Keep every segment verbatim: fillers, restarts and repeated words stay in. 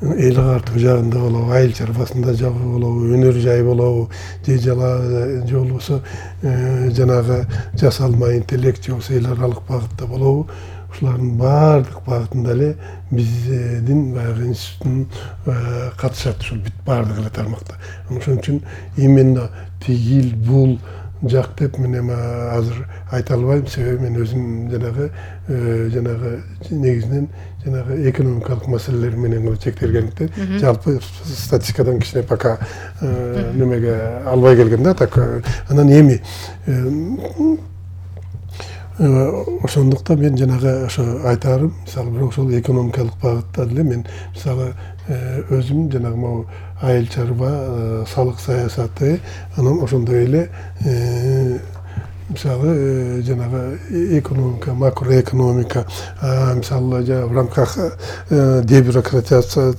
эл агартуу жагында болобу, айыл чарбасында жагы болобу, өнөр жай болобу, же жала же болбосо жанагы жасалма интеллект же болбосо эл аралык багытта болобу, ушулардын баардык багытында эле биздин баягы институттун катышат, ушул бүт баардык эле тармакта. Ошон үчүн именно тигил бул жак деп мен эми азыр айта албайм, себеби мен өзүм жанагы жанагы негизинен жанагы экономикалык маселелер менен гана чектелгендиктен жалпы статистикадан кичине пока немеге албай келгем да. Так анан эми ошондуктан мен жанагы ошо айтарым, мисалы бирок ошол экономикалык багытта деле мен мисалы өзүм жанагы могу айыл чарба салык саясаты, анан ошондой эле мисалы жанагы экономика, макроэкономика, мисалы в рамках дебюрократизация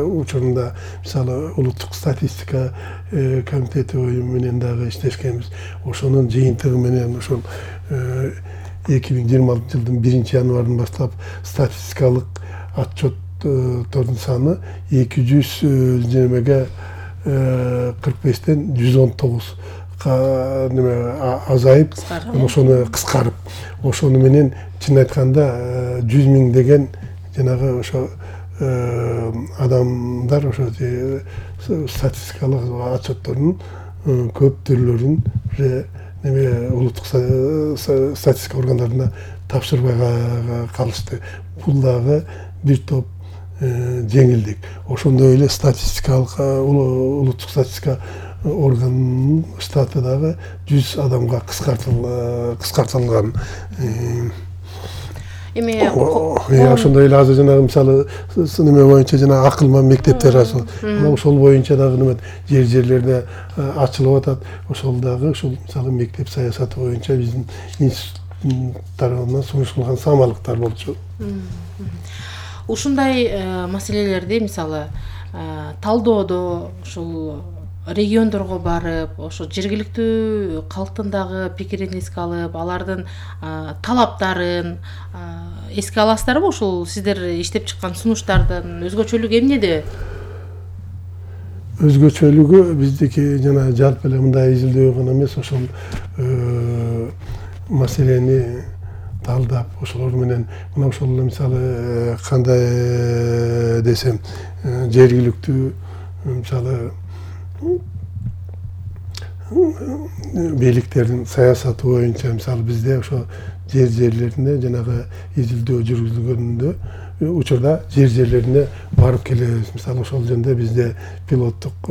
учурунда мисалы улуттук статистика комитети менен дагы иштешкенбиз. Ошонун жыйынтыгы менен ошол эки миң жыйырма алтынчы жылдын биринчи январынан баштап статистикалык отчеттордун саны эки жүз жыйырмага кырк бештен жүз он тогуз неме азайып, ошону кыскарып, ошону менен чын айтканда жүз миң деген жанагы ошо адамдар ошо статистикалык отчеттордун көп түрлөрүн уже неме улуттук статистика органдарына тапшырбай калышты. Бул дагы бир топ жеңилдик. Ошондой эле статистикалык улуттук статистика органынын штаты дагы жүз адамга кыскартылган. Эми ошондой эле азыр жанагы мисалы неме боюнча жана акылман мектептер ачылды. Ошол боюнча дагы неме жер жерлерде ачылып атат. Ошол дагы ушул мисалы мектеп саясаты боюнча биздин институт тарабынан сунушталган самалыктар болчу. Ушундай маселелерди мисалы талдоодо ушул региондорго барып, ошо жергиликтүү калктын дагы пикирин эске алып, алардын талаптарын эске аласыздарбы? Ушул сиздер иштеп чыккан сунуштардын өзгөчөлүгү эмнеде? Өзгөчөлүгү биздики жана жалпы эле мындай изилдөө гана эмес, ошол маселени талдап, ошолор менен мына ошол мисалы кандай десем, жергиликтүү мисалы бийликтердин саясаты боюнча мисалы бизде ошо жер жерлеринде жанагы изилдөө жүргүзүлгөндө учурда жер жерлерине барып келебиз. Мисалы ошол жөнүндө бизде пилоттук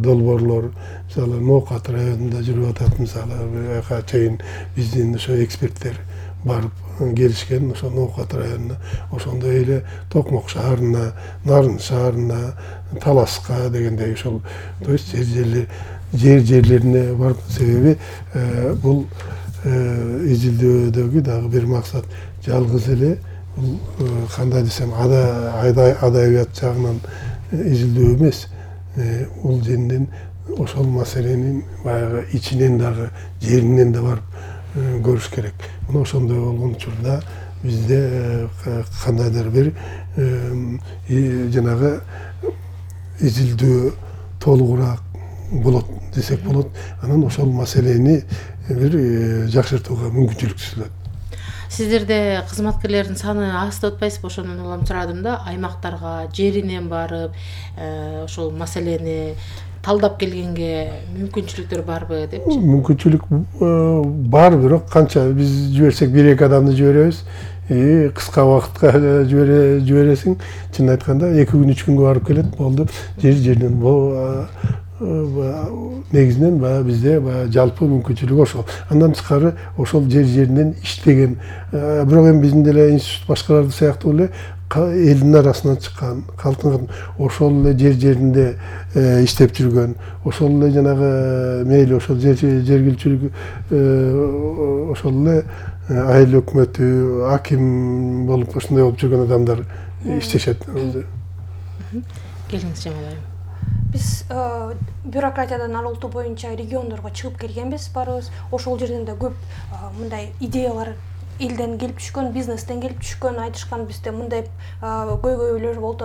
долбоорлор мисалы Ноокат районунда жүрүп атат. Мисалы ага чейин биздин ошо эксперттер барып келишкен ошо Ноокат районуна, ошондой эле Токмок шаарына, Нарын шаарына, Таласка дегендей ошол то есть жер жерлер жер жерлерине барып, себеби бул изилдөөдөгү дагы бир максат жалгыз эле бул кандай десем адабият жагынан изилдөө эмес, бул женден ошол маселенин баягы ичинен дагы жеринен да барып көрүш керек. Мына ошондой болгон учурда бизде кандайдыр бир жанагы изилдөө толугураак болот десек болот. Анан ошол маселени бир жакшыртууга мүмкүнчүлүк түзүлөт. Сиздерде кызматкерлердин саны аз деп атпайсызбы? Ошондон улам сурадым да, аймактарга жеринен барып ошол маселени талдап келгенге мүмкүнчүлүктөр барбы депчи? Мүмкүнчүлүк бар, бирок канча биз жиберсек бир эки адамды жиберебиз, кыска убакытка жибересиң, чын айтканда эки күн үч күнгө барып келет, болду. Жер жерден негизинен баягы бизде баягы жалпы мүмкүнчүлүк ошол. Андан тышкары ошол жер жеринен иштеген, бирок эми биздин деле институт башкаларды сыяктуу эле элдин арасынан чыккан, калктын ошол эле жер жеринде иштеп жүргөн, ошол эле жанагы мейли ошол жергилчилик ошол эле айыл өкмөтү, аким болуп ошондой болуп жүргөн адамдар иштешет. Келиңиз Жамал айым. Биз бюрократиядан арылтуу боюнча региондорго чыгып келгенбиз барыбыз. Ошол жерден да көп мындай идеялар элден келип түшкөн, бизнестен келип түшкөн, айтышкан бизде мындай көйгөйлөр болуп